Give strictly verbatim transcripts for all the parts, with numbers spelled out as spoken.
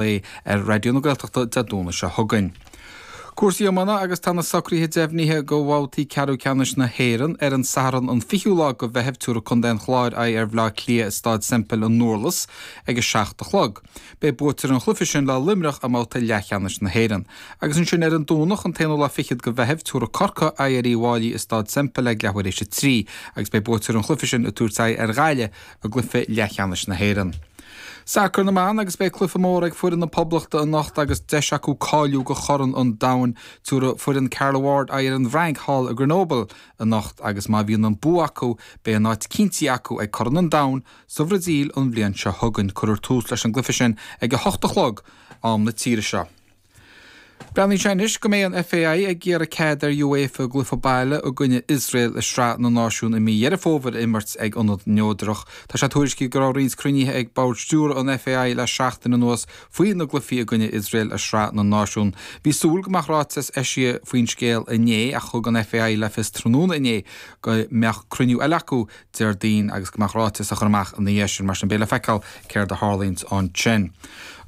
lae ar Raidió na Gaeltachta Dé Domhnaigh seo chugainn. Cúrsaí iomána agus tá na socruithe deimhnithe do bhabhtaí ceathrú ceannais na hÉireann ar an Satharn an fichiú lá de Mheitheamh tabharfaidh Contae an Chláir aghaidh ar Bhaile Átha Cliath i Staid Semple i nDurlas ag a seacht a chlog. Beidh buaiteoir an chluiche sin le Luimneach i mbabhta leathcheannais na hÉireann. Agus ansin ar an Domhnach an t-aonú lá fichead de Mheitheamh tabharfaidh Corcaigh aghaidh ar Uíbh Fhailí i Staid Semple ag leathuair théis a trí agus beidh buaiteoir an chluiche sin ag tabhairt aghaidh ar Ghaillimh i gcluiche leathcheannais na hÉireann. Sacar na mban agus beidh cluiche mór ag foireann na Poblachta anocht agus deis acu cáiliú do Chorn an Domhain tabharfaidh foireann Carla Ward aghaidh ar an bhFrainc thall i Grenoble anocht agus má bhíonn an bua acu beidh an áit cinnte acu ag Corn an Domhain sa Bhrasaíl an bhliain seo chugainn cuirfear tús leis an gcluiche sin ag a hocht a chlog am na tíre seo. Breathnaíonn sé anois go mbeidh an FAI ag iarraidh cead ar UEFA gcluiche baile i gcoinne Iosrael i Sraith na Náisiún i mí Dheireadh Fómhair a imirt ag ionad neodrach. Tá sé tuairiscithe go raibh roinnt cruinnithe ag bord stiúrtha an FAI le seachtain anuas faoi na gcluichí i gcoinne Iosrael i Sraith na Náisiún. Bhí súil go mbeadh ráiteas eisithe faoin scéal inné ach thug an FAI le fios tráthnóna inné go mbeadh cruinniú eile acu Déardaoin agus go mbeadh ráiteas á chur amach ina dhiaidh sin mar sin beidh le feiceáil céard a tharlaíonn ansin.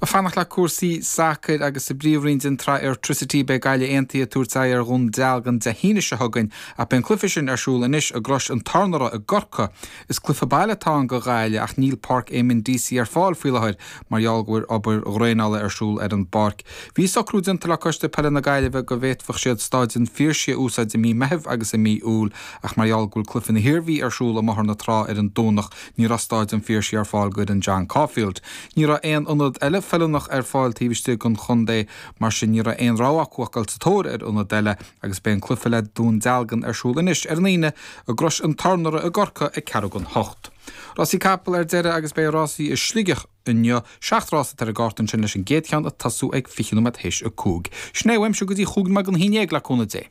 Ag fanacht le cúrsaí sacair agus sa bpríomhroinn den tsraith Airtricity beidh Gaillimh Aontaithe ag tabhairt aghaidh ar Dhún Dealgan Dé hAoine seo chugainn ach beidh an cluiche sin ar siúl anois i gCrois an Tornaire i gCorcaigh. Is cluiche baile atá ann do Ghaillimh ach níl Páirc Éamonn Deacy ar fáil faoi láthair mar gheall go bhfuil obair dhraenála ar siúl ar an bpáirc. Bhí socrú déanta le Coiste Peile na Gaillimhe go bhféadfadh siad Staid an Phiarsaigh a úsáid i mí Meithimh agus i mí Iúil ach mar gheall go bhfuil cluiche na hIarmhí ar siúl i mBóthar na Trá ar an Domhnach ní raibh Staid an Phiarsaigh ar fáil d'fhoireann John Caulfield. Ní raibh aon ionad eile feiliúnach ar fáil taobh istigh den chontae mar sin ní raibh aon rogha acu ach dul sa tóir ar ionad eile agus beidh an cluiche le Dún Dealgan ar siúl anois ar an Aoine i gCrois an Tornaire i gCorcaigh ag ceathrú don hocht. Rásaí capall ar deireadh agus beidh rásaí i Sligeach inniu seacht rás atá ar an gcárta ansin leis an gcéad cheann ag tosú ag fiche nóiméad théis a cúig. Sin é uaimse go dtí chúig nóiméad don haon déag le cúnamh Dé.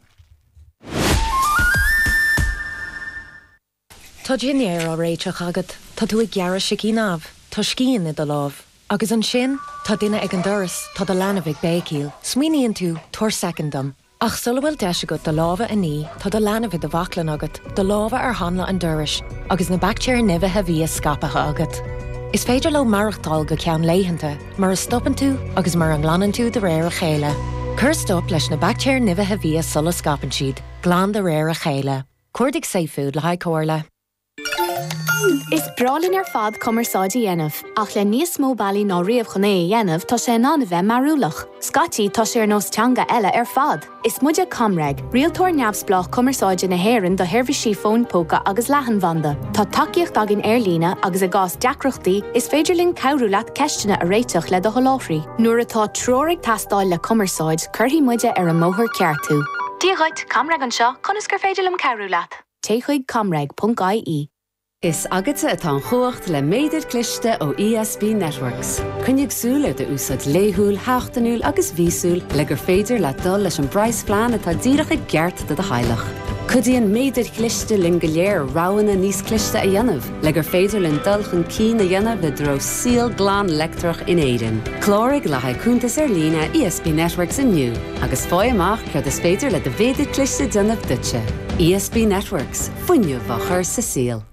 Tá dinnéar á réiteach agat, Tá tú ag gearradh sicín amh, Tá scian i do lámh. Agus ansin tá duine ag an doras tá do leanbh ag béicíl, Smaoiníonn tú tabhair soicind dom. Ach sula bhfuil deis agat do lámha a ní tá do leanbh i do bhaclainn agat, do lámha ar hanla an dorais, agus na baictéir nimhithe bhia scaipthe agat. Is féidir leo maireachtáil go ceann laethanta, mura stopann tú agus mura nglanann tú de réir a chéile. Cuir stop leis na baictéir nimhithe bhia sula scaipeann siad, glan de réir a chéile. Cuardaigh Safefood le haghaidh comhairle. Is breá linn ar fad cumarsáid a dhéanamh, ach le níos mó bealaí ná riamh chun é a dhéanamh tá sé in ann a bheith mearúlach. Scaití tá sé ar nós teanga eile ar fad. Is muide ComReg, rialtóir neamhspleách cumarsáide na hÉireann do sheirbhísí fóin póca agus leathanbhanda. Tá tacaíocht againn ar líne agus i gcás deacrachtaí is féidir linn cabhrú leat ceisteanna a réiteach le do sholáthraí. Nuair atá treoir ag teastáil le cumarsáid, cuirfidh muide ar an mbóthar ceart thú. Dia dhuit, ComReg anseo, conas gur féidir liom cabhrú leat? Téigh chuig comreg.ie. Is agatsa atá an chumhacht le méadar cliste ó ESB Networks. Coinnigh súil ar d'úsáid laethúil, sheachtainiúil agus mhíosúil le gur féidir leat dul leis an bpraghasphlean atá díreach i gceart do do theaghlach. Cuidíonn méadair chliste linn go léir roghanna níos cliste a dhéanamh, le gur féidir linn dul chun cinn a dhéanamh i dtreo saol glan leictreach in Éirinn. Cláraigh le haghaidh cuntas ar líne ESB Networks inniu agus faigh amach céard is féidir le do mhéadar cliste déanamh duitse. ESB Networks, fuinneamh á chur sa saol.